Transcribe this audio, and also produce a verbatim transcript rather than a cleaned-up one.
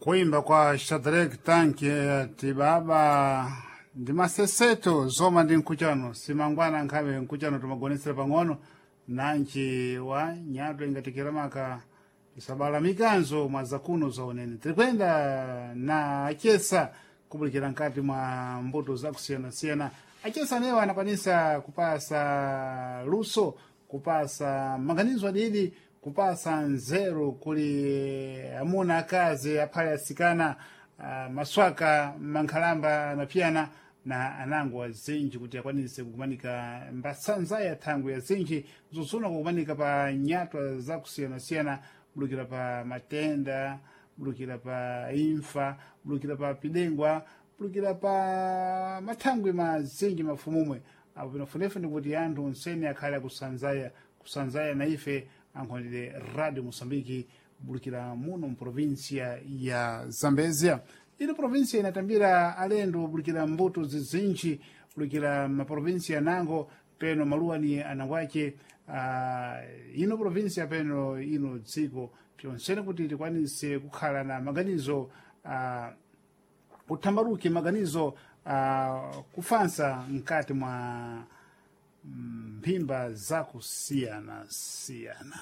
Kuimba kwa Shadrack Tanki ati baba ndi maseseto zoma ndi nkuchano simangwana nkhabe nkuchano timagonesera pang'ono nanji wa nyatwa ingatikira maka isabala mikanzo mwa zakuno zaonene tirikwenda na achesa kubulikira nkati mwa mbuto zakusiyanasiyana achesa anewa anakwanisa kupasa luso kupasa maganizo adidi kupasa nzeru kuli amuna akazi aphale asikana uh, maswaka mankhalamba anapiyana na anango azinji kuti akwanise kukumanika mbasanza ya thangwi azinji zozuna kukumanika pa nyatwa zakusiyanasiyana bulukira pa matenda bulukira pa imfa bulukira pa pidengwa bulukira pa mathangwi mazinji mafumumwe apo pinafunefune kuti anthu onsene akhale akusanzaya kusanzaya na ife ankhonere radio moçambique bulukira muno mprovinsia ya zambezia ino provinsia inatambira alendo bulukira mbuto zizinji bulukira maprovinsia nango peno maluwani anangwace uh, ino provinsia peno ino dziko pyonsene kuti tikwanise kukhala na maganizo uh, kuthambaluke maganizo uh, kufansa mkati mwa mphimba zakusiyana siyana.